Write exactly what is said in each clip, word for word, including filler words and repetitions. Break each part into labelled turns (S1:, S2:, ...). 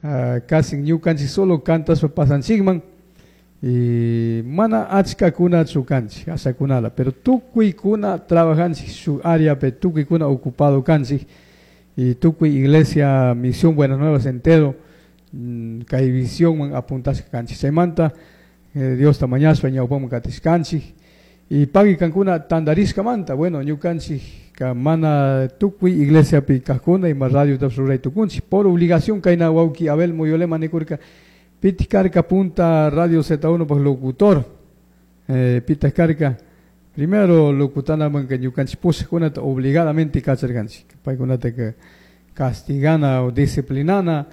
S1: uh, casi ñukanchik solo cantashpa pasanchikman y mana achkakunachu kanchik ashakunala, pero tukuykuna trabajanchik shuk áreapi, tukuykuna ocupado kanchik y tukuy iglesia Misión Buenas Nuevas entero mm, kay visionman apuntashka kanchik. Chaymanta eh, Diosta mañashpa ñawpaman katishkanchik y pagui kankuna tantarishkamanta. Bueno, ñukanchik ka mana tukuy iglesiapi kajkuna ima radiotapish ruray tukunchik por obligación. Kayna wawki Abel Muyolema nikurka, pitik karka punta Radio Z uno pak locutor, eh, pitak karka primero locutanamanka ñukanchik pushakkunata obligadamente kacharkanchik, paykunataka castigana o disciplinana,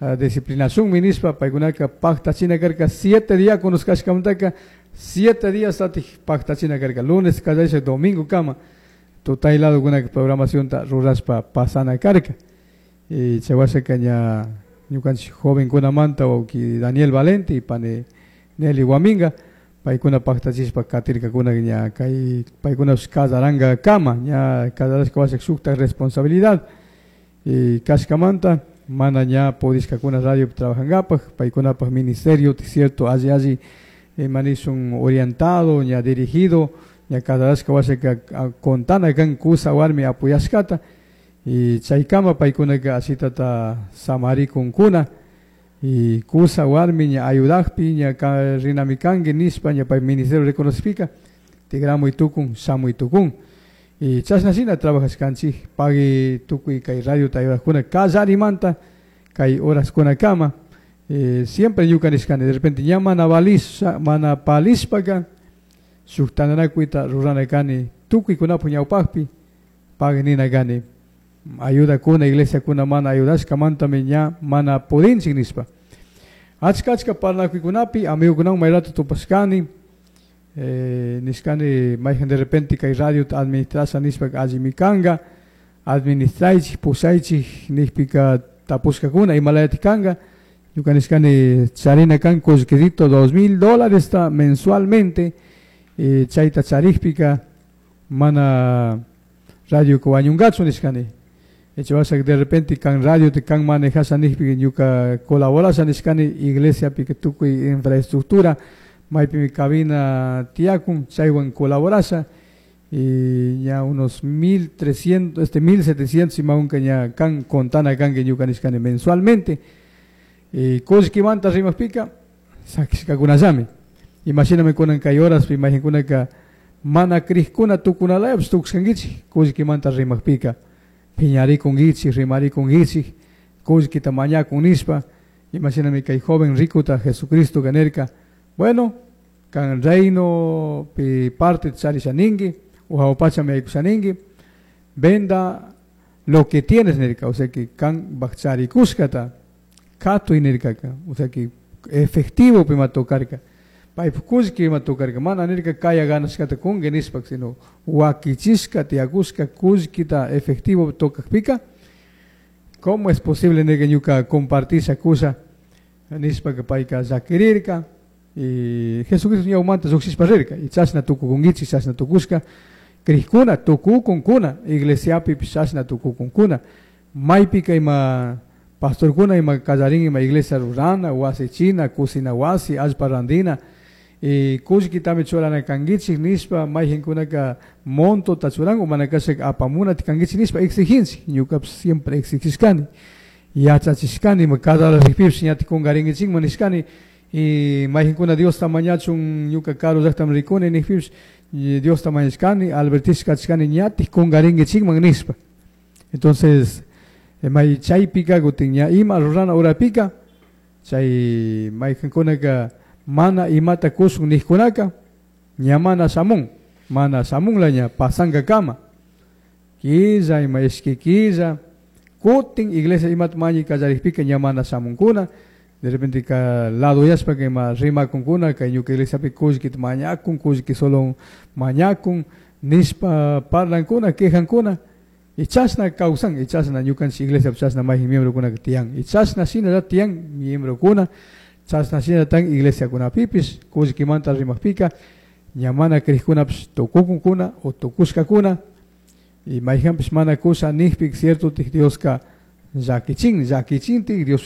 S1: uh, disciplinashunmi nishpa. Paykunaka paktachina karka siete diáconos kashkamantaka, siete días tatik paktachina karka, lunes kallarishpa domingo kama tutay ladokunaka programacionta rurashpa pasana karka. Y chay washaka ña ñukanchik jovenkunamanta wawki Daniel Valente y pani Nelly Guaminga, paykuna paktachishpa katirkakuna. Ña kay paykunapish kasaranga kama, ña kasarashka washa shuktak responsabilidad y kashkamanta mana ña pudishkakuna radio trabajangapak. Paykunapak ministerio, cierto, alli alli manishun orientado, ña dirigido, ña kasarashka washaka contana kan kusa warmi apoyashkata y chaykama paykunaka ashitata samarikunkuna. Y kusa warmi ña ayudakpi, ña rinami kanki nishpa, ña pay ministerio reconocipika, tigramuy tukun, shamuy tukun. Y chashna shina trabajashkanchik. Pagui tukuy kay radiota ayudakuna kallarimanta kay horaskunakama. eh, siempre ñuka nishkani, de repente ña mana valisha, mana palishpaka shuk tantanakuyta rurana kani tukuykunapak ñawpakpi, pagui nina kani, ayudakuna iglesiakuna mana ayudashkamantami ña mana pudinchik nishpa. Achka achka parlanakuykunapi amigukunawan may rato tupashkani, eh, nishkani mayjan de repente kay radiota administrasha nishpa allimi kanka, administraychik, pushaychik nikpika, tapushkakuna imalayatik kanka. Ñuka nishkani charina kan kullkidito dos mil dólares mensualmente, eh, chayta charikpika mana radioka wañunkachu nishkani. Chay de repente kan radio te kan manejasha nikpika ñuka colaborasha nishkani iglesiapika tukuy infraestructura maypimi cabina tiyakun, chaywan colaborasha. Y ya unos mil trescientos, este mil setecientos imaunka ña kan contana kanki ñuka nishkani mensualmente. Y kullkimanta rimakpika sakishkakunallami. Imashinami kunan kay horaspi mayjankunaka mana krikuna tukunalayapish tukushkankichik, kullkimanta rimakpika piñarikunkichik, rimarikunkichik kullkita mañakun nishpa. Imashinami kay joven ricuta Jesucristo nirka, bueno, kan reino pi parte charisha ninki o jawapachami yaykusha ninki, venda lo que tienes nirka, o sea que kan charikushkata katuy nirkaka, o sea que efectivo pima tokarka, paypak kullki ima tokarka, mana nirka kaya ganashkata kunki nishpa, sino wakichishka tiyakushka kullkita efectivo tokakpika, ¿cómo es posible nirka ñuka compartisha kusha nishpaka payka llakirirka? Y Jesucristo ñawmanta llukshishpa rirka. Y chashna tukukunkichik, chashna tukushka krikuna tukukunkuna, iglesiapipish chashna tukukunkuna. Maypika ima pastorkuna ima kallarin ima iglesia rurana wasichina, kusina wasi, allpa randina y kullkitami churana kankichik nishpa, mayjankunaka montota churan o mana kashaka apamunata kankichik nishpa exigencia. Ñukapish siempre exigishkani, yachachishkani, ima cada rikpipish ñatik kunkarinkichikman nishkani. Y mayjankuna Diosta mañachun, ñuka karu llaktami rikuni nikpipish, Diosta mañashkani, advertishkachishkani ñatik kunkarinkichikman nishpa. Entonces may chaypika kutin ña ima rurana horapika chay mayjankunaka mana imata kushun nijkunaka ña mana shamun, mana shamunla, ña pasankakama killa, ima ishki killa, kutin iglesia imata mañi kallarikpika ña mana shamunkuna. De repente ka ladoyashpaka ima rimakunkuna, kay ñuka iglesiapi kullkita mañakun, kullki solo mañakun nishpa parlankuna, quejankuna. Y chashna kawsan, y chashna ñukanchik iglesiapi chashna mayjin miembrokunaka tiyan, y chashna shinalla tiyan miembrokuna, chashna shinallatan iglesiakunapipish kullkimanta rimakpika ña mana krikkunapish tukukunkuna o tukushkakuna. Y mayjanpish mana kusha nikpika, cierto, Dioska llakichin, llakichintik Dios.